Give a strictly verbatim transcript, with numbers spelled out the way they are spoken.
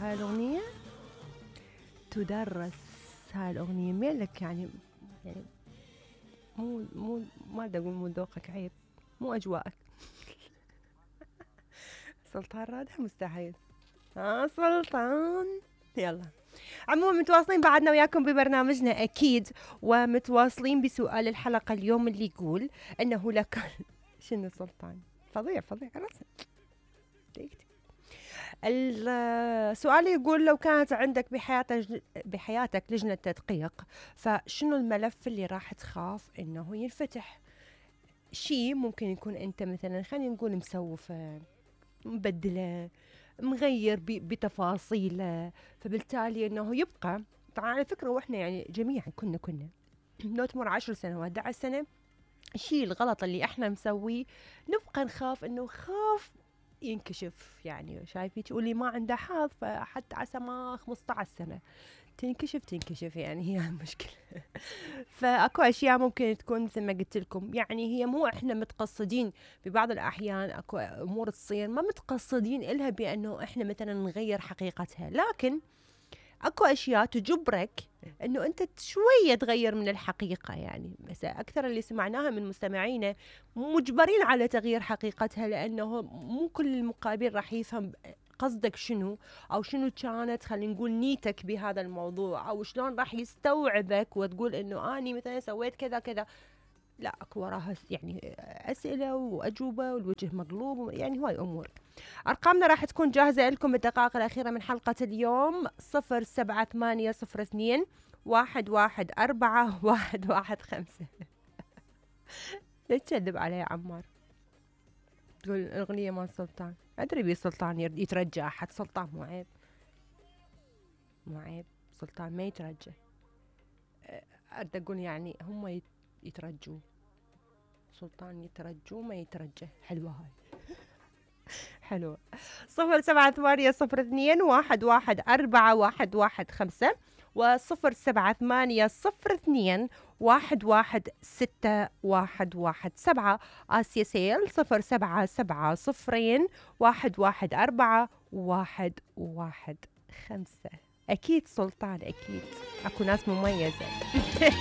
هاي الأغنية تدرس، هاي الأغنية ميلك يعني يعني مو مو ما بدي أقول مو ذوقك، عيب مو أجواءك. سلطان رادح مستحيل. ها سلطان. يلا عموما متواصلين بعدنا وياكم ببرنامجنا أكيد، ومتواصلين بسؤال الحلقة اليوم اللي يقول أنه لك شنو سلطان فظيع فظيع رسم. السؤال يقول لو كانت عندك بحياتك بحياتك لجنة تدقيق، فشنو الملف اللي راح تخاف انه ينفتح؟ شيء ممكن يكون انت مثلا خلينا نقول مسوفه، مبدله، مغير بتفاصيله، فبالتالي انه يبقى. طبعا على فكرة واحنا يعني جميعا كنا كنا لو تمر عشر سنوات أحد عشر سنة، الشيء الغلط اللي احنا مسويه نبقى نخاف انه خاف ينكشف. يعني شايفي تقولي ما عنده حظ، فحتى عسى ما خمسة عشر سنة تنكشف تنكشف يعني هي المشكلة. فاكو اشياء ممكن تكون مثل ما قلت لكم، يعني هي مو احنا متقصدين، ببعض الاحيان اكو امور تصير ما متقصدين الها بانه احنا مثلا نغير حقيقتها، لكن اكو اشياء تجبرك انه انت شويه تغير من الحقيقه. يعني مثلا اكثر اللي سمعناها من مستمعينا مجبرين على تغيير حقيقتها، لانه مو كل المقابل راح يفهم قصدك شنو، او شنو كانت خلينا نقول نيتك بهذا الموضوع، او شلون راح يستوعبك وتقول انه اني مثلا سويت كذا كذا. لا اكو وراها يعني اسئله واجوبه والوجه مقلوب، يعني هواي امور. ارقامنا راح تكون جاهزه لكم بالدقائق الاخيره من حلقه اليوم. صفر سبعة ثمانية صفر اثنين واحد واحد أربعة واحد واحد خمسة. ليش تكذب علي يا عمار؟ تقول الاغنيه مال سلطان، ادري بي سلطان يترجى احد، سلطان مو عيب، مو عيب، سلطان ما يترجى. اريد اقول يعني هم يترجوا، سلطان يترجوا ما يترجى. حلوة هاي. حلوة. صفر سبعة ثمانية صفر اثنين واحد واحد أربعة واحد واحد خمسة وصفر سبعة ثمانية صفر اثنين واحد واحد ستة واحد واحد سبعة. آسيا سيل صفر سبعة سبعة صفرين واحد واحد أربعة واحد واحد خمسة. أكيد سلطان أكيد، أكو ناس مميزة.